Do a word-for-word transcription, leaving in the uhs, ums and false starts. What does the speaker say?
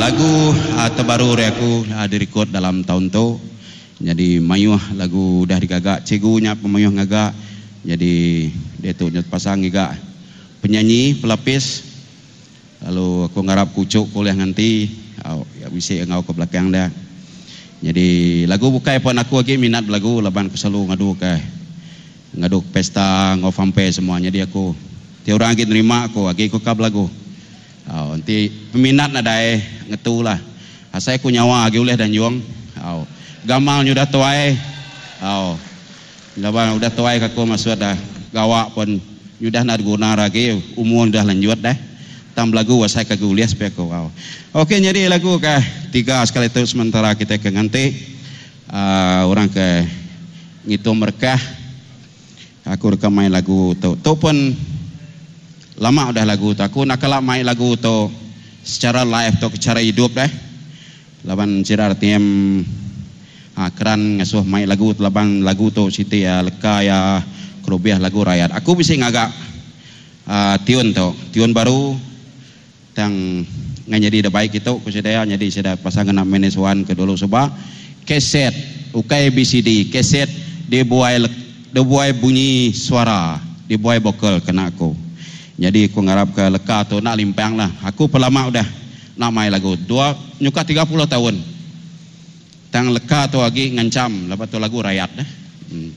Lagu uh, terbaru dari aku uh, direkod dalam tahun tu. Jadi mayuh lagu udah digaga, cikgu nya pemayuh ngaga. Jadi dia tu nyet pasang juga penyanyi pelapis. Lalu aku ngarap kucuk kuliah nganti au ya bisi ngau ke belakang dia. Jadi lagu bukai pun aku lagi minat lagu laban aku selalu ngadu ke ngadu pesta ngau fampe semua. Jadi aku tiap orang lagi nerima aku lagi aku kap lagu. Au nanti peminat nadai ngetu lah. Asai aku nyawa lagi ulih dan juang. Au gamal udah tuai. Au laban udah tuai aku masuk dah gawak pun udah nak guna lagi, umur udah lanjut dah. Tam lagu wasai ke guliah supaya aku wow. Okey, jadi lagu ke tiga sekali tu sementara kita ke nganti uh, orang ke ngitung merkah aku rekam main lagu tu. Tu pun lama udah lagu tu. Aku nak kelak main lagu tu secara live tu secara hidup dah. Laban sira R T M ha, keran ngasuh main lagu tu laban lagu tu siti ya leka ya kerubiah lagu rakyat. Aku bisa ngagak uh, tiun tu, tiun baru tang ngan jadi dah baik itu ku sedaya jadi seda pasangan nak manage one ke dulu sebab keset ukai B C D keset dia buai dia buai bunyi suara, dia buai vokal kena aku. Jadi aku ngarap ke leka tu nak limpang lah. Aku pelama udah nak main lagu dua nyuka tiga puluh tahun tang leka tu lagi ngancam lepas tu lagu rakyat dah hmm.